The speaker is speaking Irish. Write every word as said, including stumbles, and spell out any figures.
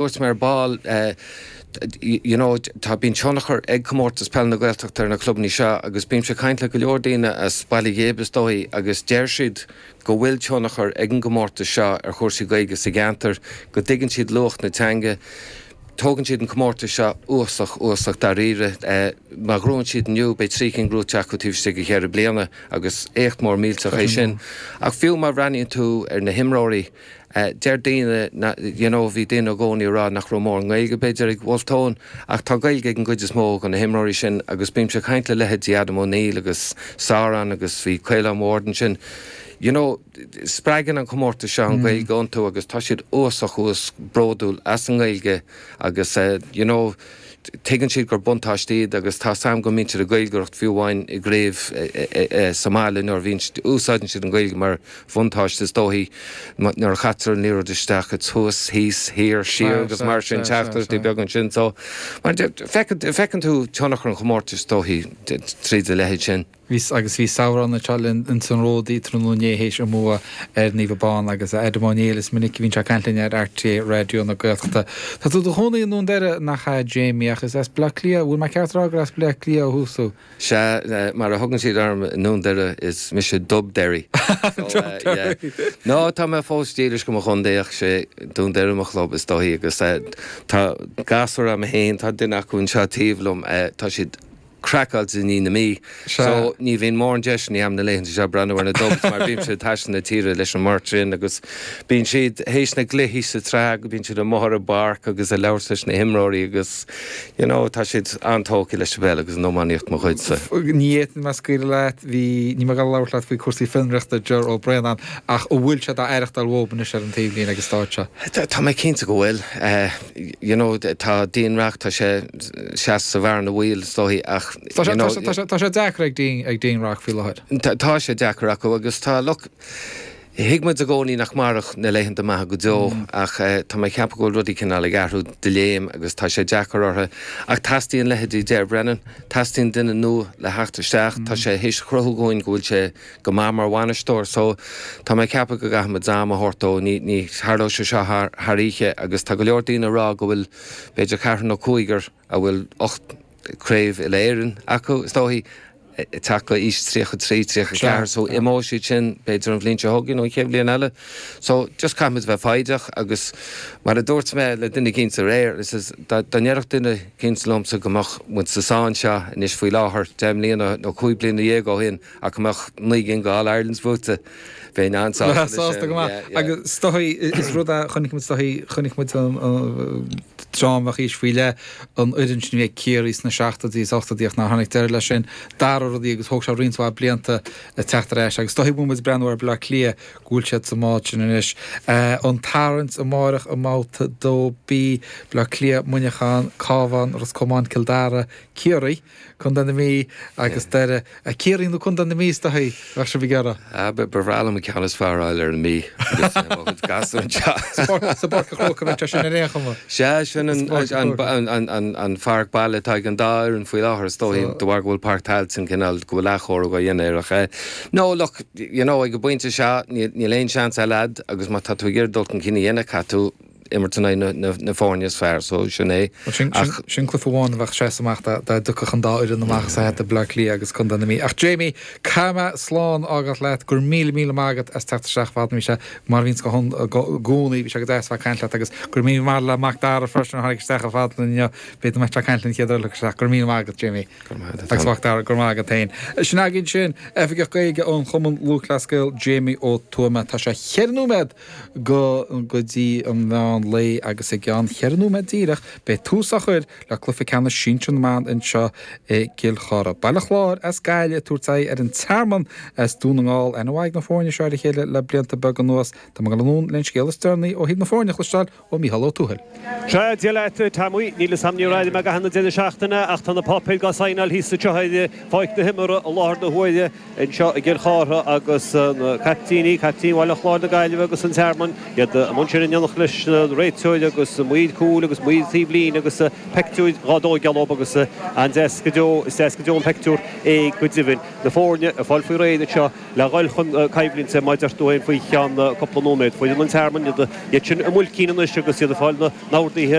dúirt mé ar ball, you know, tá bíonn tionchar ag Comórtas Peile na Gaeltachta ar na clubanna seo agus bímse ag caint le go leor daoine as Baile Ghib is dóigh agus deir siad go bhfuil tionchar ag an gcomórtas seo ar chúrsaí Gaeilge sa gceantar, go dtuigeann siad luach na teanga. Tógann siad an comórtas seo uasach uasach dáiríre. Má ghnóthaíonn siad inniu beidh trí cinn gnóthaithe acu taobh istigh de cheithre bliana agus éacht mór millteach é sin. Ach fiú má bhreathnaíonn tú ar na himreoirí, deir daoine, you know, bhí daoine i gcónaí ag rá nach raibh mórán Gaeilge b'fhéidir ag Wolfe Tone, ach tá Gaeilge ag an gcuid is mó de na himreoirí sin agus bímse ag caint le leithéidí Adam O'Neill agus Saran agus bhí Caolán Ward ansin. You know, spreagann an comórtas seo an Ghaeilge iontu agus tá siad uasach uas bródúil as an nGaeilge agus you know, tuigeann siad gur buntáiste iad agus tá sam go mbíonn siad ag Gaeilgeoireacht fiú amháin i gcraobh sa mbaile nuair a bhíonn úsáideann siad an Ghaeilge mar bhuntáiste is dóichí nuair a chaitear an liathróid isteach it's thuas, thíos, thiar, siar agus mar sin teachtaireachtaí beaga ansin so mar feiceann tú tionchar an chomórtais is dóichí tríd a leithéid sin. Bhí agus bhí Samhrán anseo linn ins an Ródaí tráthnóna inné théis a mbua ar Naomh Abán agus Adam O'Neill is minic a bhíonn sé ag caint linn ar RTÉ Raidió na Gaeltachta. Tá tú do chónaí i nDún Doire nach ea Jamie ach is as Bleá Cliath, bhfuil mé ceart a rá gur as Bleá Cliath ó thús thú? Sea, mar a thugann siad orm i nDún Doire is mise Dub Derry. So, uh, yeah. No, tá mé fós dílis go mo chontae ach sé Dún Doire mo chlub is dóichí agus uh, tá gasúir agam féin, tá duine acu anseo taobh liom, uh, tá siad craiceáilte i ndiaidh na Mí. So ní bhíonn mórán deiseanna agam na laethanta seo breathnú ar na Dubs mar bímse ag taisteal na tíre leis an mbeirt sin agus bíonn siad théis na gcluichí sa tsraith go bíonn siad amuigh ar an bpáirc agus ag labhairt leis na himreoirí agus you know, tá siad an-tógtha leis an bpeil agus an iománaíocht mo chuidse. Ní fhéadfainn mé scaoileadh leat, bhí ní mar ag labhairt leat faoi cúrsaí fionraíochta Ger Ó Braonáin ach an bhfuil sé dá aireachtáil uathu anois ar an taobhlíne agus stáit seo. Tá tá mé cinnte go bhfuil. Uh, you know, tá Dean Rock tá sé seas sa bhearna bhaoil is dóichí ach Tá sé- you know, tá sé- tá sé- tá sé deacair ag Dean ag Dean Rock faoi láthair. Tá tá sé deacair acu agus tá look thuig muid i gcónaí nach mairfeadh na laethanta maithe go deo ach eh, tá mé ceapadh go bhfuil rudaí cineál ag athrú de léim agus tá sé deacair orthu ach teastaíonn leithéidí Ger Brennan, teastaíonn duine nua le theacht isteach, tá sé théis cruthú dúinn go bhfuil sé go maith mar bhainisteoir so tá mé ceapadh go gcaithfimid am a thabhairt dó ní ní tharlóidh sé seo thar thar oíche agus tá go leor daoine ag rá go bhfuil b'fhéidir ceathrar nó cúigear a bhfuil ocht craobh uile-Éireann acu is dóichí teacht go aois tríocha trí tríocha ceathair so imeoidh siad sin b'fhéidir an bhliain seo chugainn nó an chéad bhliain eile. So just caithfimid bheith foighdeach agus mar a dúirt mé le duine éicint aréir is is dá ndéarfadh duine éicint liomsa go mbeadh muid sa sáinn seo anois faoi láthair deich mbliana nó cúig bliana dhéag ó shin ach go mbeadh naoi gcinn de All Irelands buaite bheinn an-sásta leis Sásta sin. go maith. Yeah, yeah. Agus is dóichí is rud a chonaic muid is dóichí chonaic muid an tráth a bhí faoi leith an fhoireann sin a bhí ag Ciarraí sna seachtóidí is ochtóidí ach nár tháinig deireadh leis sin dara rudaí agus thóg sé roinnt mhaith blianta a teacht ar ais agus is dóichí bhfuil muid breathnú ar Bleá Cliath go bhfuil siad sa mbád sin anois. Uh, an tarraingt amárach i mbabhta dó B Bleá Cliath Muineachán Cabhán Ros Comáin Cill Dara Ciarraí Contae na Mí agus Doire Ciarraí nó Contae na Mí is dóichí bheadh sibh ag iarraidh. Ah, ba bhreá liom an ceann is fearr a fháil ar an Mí agus, eh, mo chuid gasúr anseo. Sa bPáirc an Chrócaigh bheadh sé sin ar aon chuma. Sea sin an, Sa an, Pháirc an, an, an, an pháirc baile atá ag an dá fhoireann faoi láthair is dóichí So- de bharr go bhfuil Páirc Tailteann cineál go bhfuil athchóiriú á dhéanamh air ach eh, No look, you know, ag an bpointe seo níl níl aon seans eile agat agus má tá tú ag iarraidh dul chun cinn a dhéanamh caithfidh tú imirt in aghaidh na, na, na foirne is fearr so sin é. Sin, sin, sin cluiche amháin a bheadh sé amach dá dtiocfadh an dá fhoireann amach sa hata Bleá Cliath agus Contae na Mí. Ach Jamie caithfidh mé slán a fhágáil leat gur míle míle maith agat as teacht isteach fad bhí sé mar bhíonn go gcónaí bhí sé go deas bheith caint leat agus gur míle maith le Mac Dara freisin a tháinig isteach a fad inniu b'fhéidir mbeidh sé caint linn chéad uair isteach gur míle maith agat Jamie. Agus Mac Dara gur maith agat féin. Sin againn sin Oifigeach Gaeilge ón Chumann Lúthchleas Gael Jamie Ó Tuama tá sé cheithre nóiméad go go dtí an meán lae agus i gceann cheithre nóiméad díreach beidh tús á chur le cluiche ceannais sinsir na mban anseo i gCill Chartha. Baile Chláir as Gaillimh ag tabhairt aghaidh ar an Tearmann as Dún na nGall an bhfaigh na foirne seo ar a chéile le blianta beaga anuas Tá go lún le scéal is deireanaí ó thaobh na foirne a chloisteáil ó Mícheál Ó Tuathail. Sea Dia leat Tommy níl sam ní raid me gahanna déna seachtaine ach tá na páipéir á saighneáil thíos anseo ar pháirc na himeartha i láthair na huaire anseo i gCill Chartha agus na caiptíní, caiptín Bhaile Chláir na Gaillimhe agus an Tearmann iad amuigh ansin in éineacht leis na an réiteoir agus maoir cúil agus maoir taobh líne agus peictiúir dhá dtógáil leo agus an-deas go deo, is deas go deo an peictiúr é go deimhin. Na foirne ag fáil faoi réir anseo le dhul chun coimhlinte mar a deir tú féin faoi cheann cúpla nóiméad. Foireann an Tearmainn, iad sin i mbuilcín anois agus iad ag fáil na n-orduithe.